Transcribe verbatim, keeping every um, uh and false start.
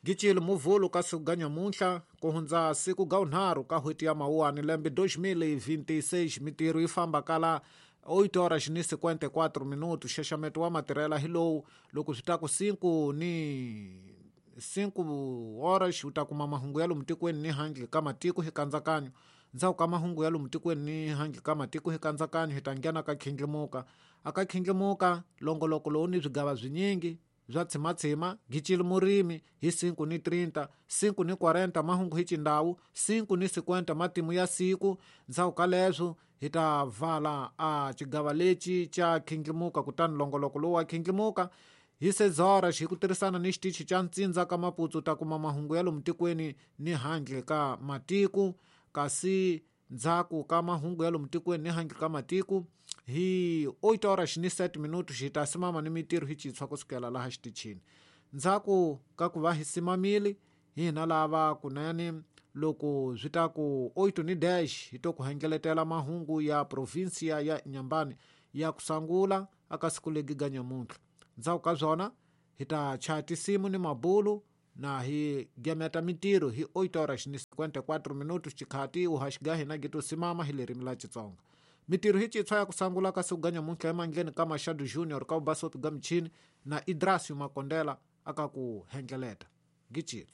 Gicile muvhulu ka siku ga nyamuntlha ku hundza siku ga unharhu ka n'hweti ya mawuwani lembe dois mil e vinte e seis mitirho yi famba kala oito horas ni cinquenta e quatro minutos. Xaxameto wa matirhela hi lowu loko swi ta ku cinco ni cinco horas u ta kuma mahungu ya lomu tikweni ni handle ka matiko hi kandzakanyo. Ndzhaku ka mahungu ya lomu tikweni ni handle ka matiko hi kandzakanyo hi ta nghena ka khindlimuka. Aka khindlimuka longoloko lowu ni swigava swinyingi bya tshimatshima gicile murimi hi cinco ni trinta, cinco ni quarenta mahungu hi xindhawu, cinco ni cinquenta matimu ya siku. Ndzhaku ka leswo hi ta vala a xigava lexi xa khindlimuka kutani longoloko lowu wa khindlimuka hi seis horas hi ku tirhisana ni xitichi xa Ntsindza ka Maputsu ta kuma mahungu ya lomu tikweni ni handle ka matiko. Kasi ndzhaku ka mahungu ya lomu tikweni ni handle ka matiko hi oito horas ni sete minutos hi ta simama ni mitirho hi xintshwa kusukela laha xitichini. Ndzhaku ka ku va hi simamile hina lava kunene loko swi ta ku oito ni dez hi to ku hengeletela mahungu ya provinsia ya Inhambane ya ku sangula aka siku legi ga nyamuntlha. Ndzhaku ka swona hi ta chaya tinsimu ni mabulu na hi gemeta mitirho hi oito horas ni cinquenta e quatro minutos xikhati uhaxi ga hina gi to simama hi lerimi la Xitsonga. Mitirho hi xintshwa ya ku sangula ka siku ga nyamuntlha emandleni ka Machado Junior ka Ubasopi ga michini na Idrasio Makondela aka ku hengeleta. Gicile.